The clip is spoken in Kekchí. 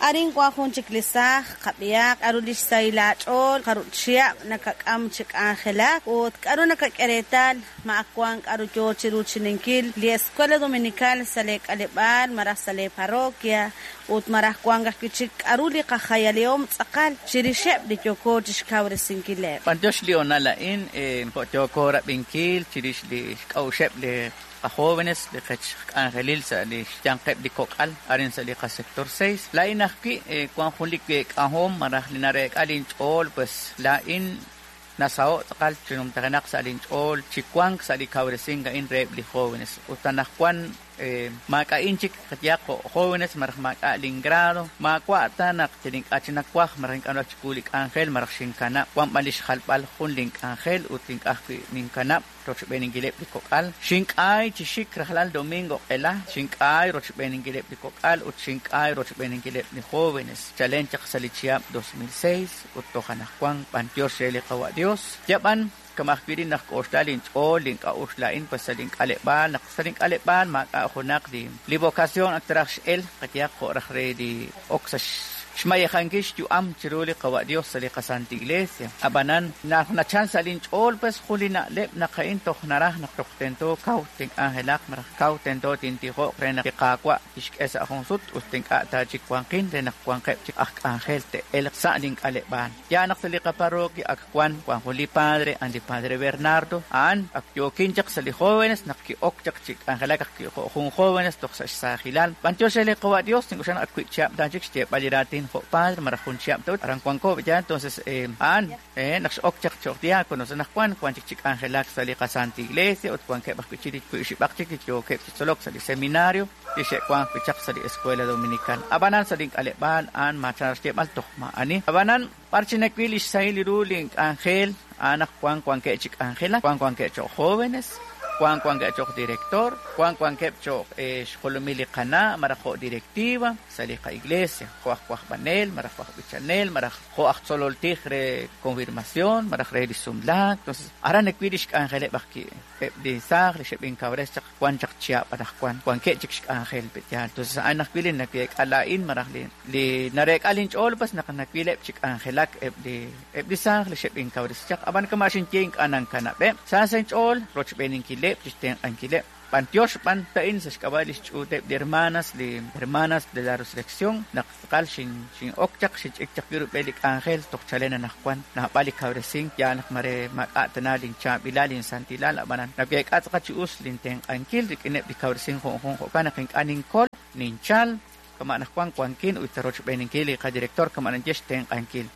Arin wan jun chik li saaj, qab'ihaq k'aru li xsahil aach'ool, jarub' chihab' nakak'am chi k'anjelak ut k'aru nakak'e reetal ma ak wan k'aru yo chi ruuchininkil li Escuela Dominical sa' lee k'aleb'aal malaj sa' lee parroquia ut malaj wank ajwi' chik k'aru li qajayalihom tz'aqal chirixeb' li yooko chi xkawresinkileb'. B'anyox li hoonal a'in, jo' yooko rab'inkil chirix li xk'a'uxeb' li qajóvenes, li qech k'anjelil sa' li xyanqeb' li kok'al arin sa' li qasector 6. Laa'in ajwi' wan jun li week'ahom malaj li nareek'a linch'ool, pues laa'in nasaho' tz'aqal chi numtajenaq sa' linch'ool chi wank sa' li kawresink a'in reheb' li jóvenes. Ut anaqwan maak'a'in chik qayehaq jo' jóvenes malaj maak'a' lingrado, maawa' ta naq yal ink'a' chik nawaj malaj ink'a' nawulak chiwu li k'anjel malaj xinkanab', wan b'an li xjalb'al jun link'anjel ut ink'a' ajwi' ninkanab' rochb'eeninkileb' li kok'al. Xink'ay chi xik rajlal domingo q'ela, xink'ay rochb'eeninkileb' li kok'al ut xink'ay rochb'eeninkileb' li jóvenes chalen chaq sa' li chihab' 2006 ut toj anaqwan, b'antiox re li Qawa' Dios. Yab'an, kama' ajwi' rin naq k'oxla linch'ool, link'a'uxl laa'in pues sa' link'aleb'aal, naq sa' link'aleb'aal maak'a' junaq li li vocación ak traj x'el, qayehaq jo' raj re li ok sa' xmayejankil xyu'am chiru li Qawa' Dios sa' li qaSanta Iglesia. Ab'anan, naq nachal sa' linch'ool pues jun li na'leb' naq a'in toj naraj naq toj tento kaw tink'anjelaq malaj kaw tento tintijo'q re naq li Qaawa' tixk'e sa' jun sut ut ink'a' ta chik wanqin re naq wanqeb' chik aj k'anjel te'elq sa' link'aleb'aal. Yaal naq sa' li qaparroquia ak wan, wan jun li padre, a'an li padre Bernardo, a'an ak yookin chaq sa' li jóvenes naq ki'ok chaq chi k'anjelak ajwi' jo' jun jóvenes toj sa' xsaajilal. B'antiox re li Qawa' Dios, nink'oxla naq ak wiib' chihab' ta chik xyeeb'al li raatin jo' padre malaj jun chihab' ta ut aran wanko, yaal, entonces a'an naq x'ok chaq cho'q diácono sa' anaqwan wan chik chi k'anjelak sa' li qaSanta Iglesia ut wankeb' ajwi' chik li wiib' xib'aq chik li yookeb' chi tzolok sa' li seminario li xe'wank wi' chaq sa' li Escuela Dominical. Ab'anan sa' link'aleb'aal a'an maachan xyeeb'al toj maa'ani. Ab'anan b'ar chi nawil li xsahil ru link'anjel a'an naq wank wankeb' chi k'anjelak, wank wankeb' cho'q jóvenes, wank wankeb' cho'q director, wank wankeb' cho'q xjolomil li qana' malaj jo' directiva sa' li qa'iglesia, jo' aj wajb'anel malaj jo' aj b'ichanel malaj jo' aj tzolol tij re confirmación malaj re li sumlaak. Entonces aran nawil li xk'anjeleb' ajwi' eb' li saaj li xeb'inkawres chaq wan chaq chihab' anaqwan wankeb' chik xk'anjel pe' yaal. Entonces a'an ajwi' li naweek'a laa'in malaj li li nareek'a linch'ool pues naq nawileb' chi k'anjelak eb' li eb' li saaj li xeb'inkawresi chaq. Ab'an kama' xinye ink'a' nankanab'eb', sa sa' inch'ool rochb'eeninkileb' chi xtenq'ankileb'. B'antiox b'an ta'in sa' xk'ab'a' li xch'uuteb' li hermanas, li Hermanas de la Resurrección, naq tz'aqal xin'ok chaq, xinch'ik chaq wib' rub'el li k'anjel toj chalen anaqwan. Naab'al li kawresink, yaal naq mare maak'a' tana linchaab'ilal, linsantilal, ab'anan naweek'a tz'aqal chi us lintenq'ankil rik'ineb' li kawresink junjunq. Jo'kan naq ink'a' ninkol, ninchal, kama' anaqwan wankin ut rochb'eeninkil li qadirector kama' naxye xtenq'ankil.